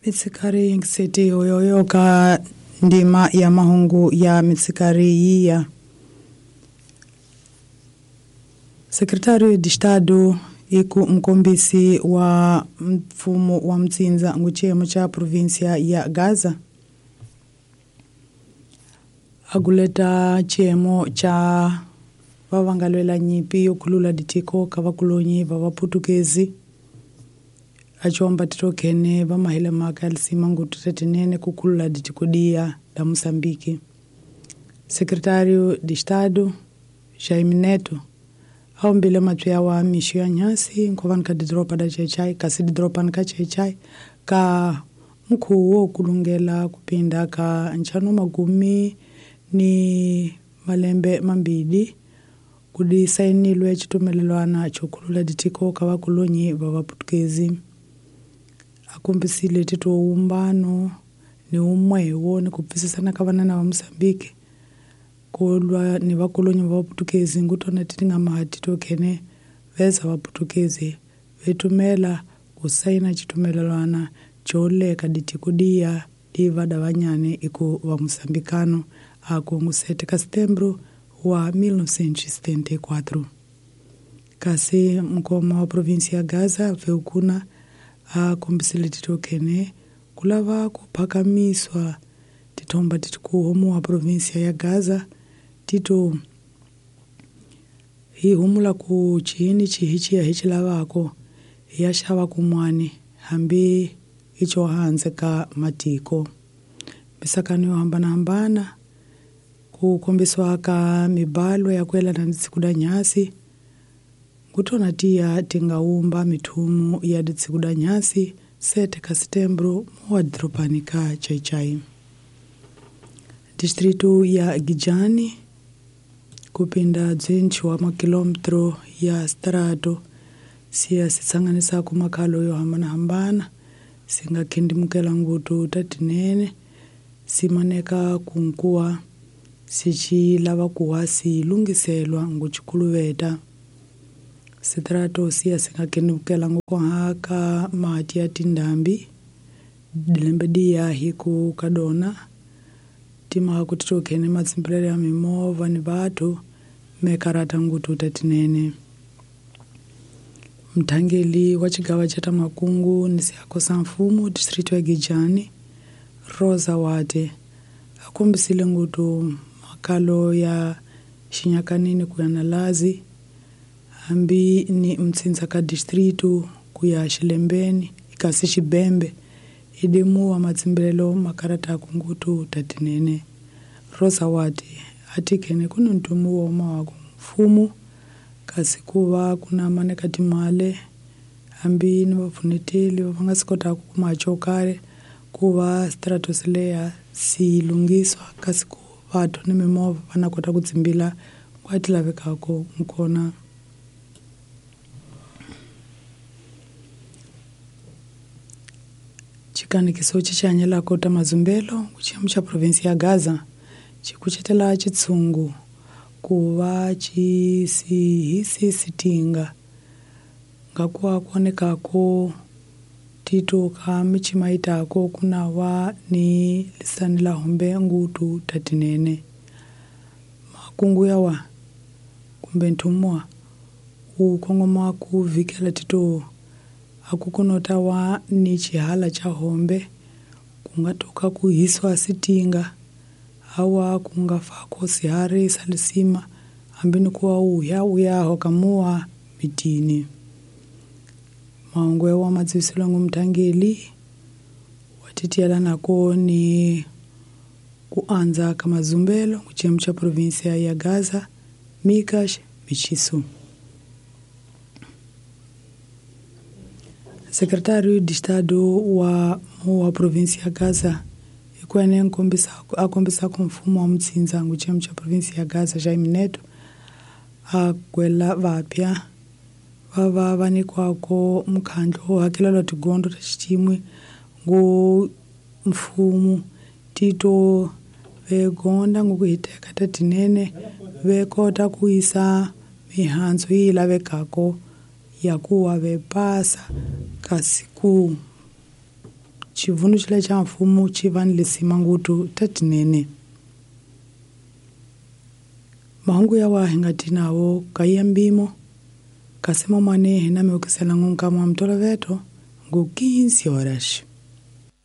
Mitsikari yingiseti yoyoyo ka ndima ya mahungu ya mitsikari yiya. Secretário de Estado iku mkombisi wa mfumo wa mtsinza nguchiyemo cha província ya Gaza aguleta chiyemo cha vavangalwela nyipi yokhulula ditiko ka vakulonyi va vaputukezi aciwamba titokhene vamahele maka alisima ngutu tetenene kukhulula ditiko diya la Moçambique. Secretário de Estado Jaime Neto aombile mapya wa mixo ya nyasi nkovani ka didoropa da Chechai kasi didoropani ka Chechai ka mukhuwo wo kulungela kupinda ka ntlhanu magumi ni malembe mambili kudi sainilwe xitumelelwana xo khulula ditiko ka vakulonyi va vaputukezi. Akombisile tito wumbano ni umwewo ni ku pfisisana ka vanana va Moçambique kulwa ni vakulonyi va vaputukezi ngutona ti nga maha titokhene veza vaputukezi vetumela ku saina xitumelelwana xo leka ditiko diya diva da vanyane iku va moçambicano aku ngu 7 ka setembro wa 1974. Kasi mukoma wa província ya Gaza veukuna akombisile titokhene kulava ku phakamiswa tithomba titikuhomu wa província ya Gaza tito hi humula ku chini chihi chiya hi xilavako hi ya xava kun'wani hambi i xo hansi ka matiko. Misakano yo hambanahambana ku kombisiwa ka mibalo ya ku yelana ni tsiku da nyasi ngutona tiya ti nga wumba mithumu ya ditsiku da nyasi 7 ka setembro muwa diropani ka Chaichai. Distrito ya Gijani kupinda dzintshi wa makilometro ya strato siya sitsanganisa ku makhalo yo hambanahambana singa khindimukela ngutu ta tinene simaneka kunkuwa sici lava kuwa si lunghiselwa ngucikhuluveta. Sitrato siya singa khindimukela nguku mati ya tindhambi dilembe diya hi ku kadona timhaka ku titokhene matsimbirelo ya mimovha ni vathu mekarata ngutu ta tinene. Mthangeli wa xigava xa ta makungu ni siako sa mfumo distrito ya Gijani Rosa Wate a kombisile ngutu makalo ya xinyakanini ku ya na Lazi hambi ni mtsindza ka distrito ku ya Xilembeni kasi Xibembe idimuwa matsimbirelo makarata kungutu ta tinene. Rosa Wate a tikhene ku ni ntumu wa mawaku mfumo kasi ku va ku na maneka timale hambi ni vapfuneteli va nga si kotaka ku kuma xo karhi ku va stratos leya si lunghiswa kasi ku vathu ni mimovha va na kota ku tsimbila kwa ti lavekaka nkona. Xikanekiso xi xi hanyelaka ta mazumbelo ku xiyimo xa província ya Gaza xi kucetela xitshungu ku va xi sihisi sitinga ngakuwa kuonekako tito ka michima itako kuna wa ni lisani la hombe ngutu tatinene. Makungu yawa kumbe ntumwa u kongoma ku vikela tito akukunota wa ni chihala cha hombe kungatoka kuhiswa sitinga awa kungafako sihari salisima ambini kuwa uya uyaho kamua mitini. Maongwe wa madziviselo ngumthangeli watitiyela nako ni kuanza ka mazumbelo kuchiyemo cha província ya Gaza Mikash Michisu. Secretário de Estado wa wa província ya Gaza ikwene akombisa ku mfumo wa mtsinza nguchiyemo cha província ya Gaza Jaime Neto agwela vapya vava va nyikiwaka mukhandlu wo hakelelwa tigondzo ta xicimwe ngu mfumo tito vegonda nguku hiteka ta tinene ve kota ku yisa mihandzu yi lavekaka ya ku wa ve pasa kasi ku Xivundu xile xa mfumo xi va ni lisima ngutu tatinene. Mahungu yawa hi nga ti nawo ka mbimo kasi mamane hi na mi ukisela nkama wa mtoloveto ngu 15 horas.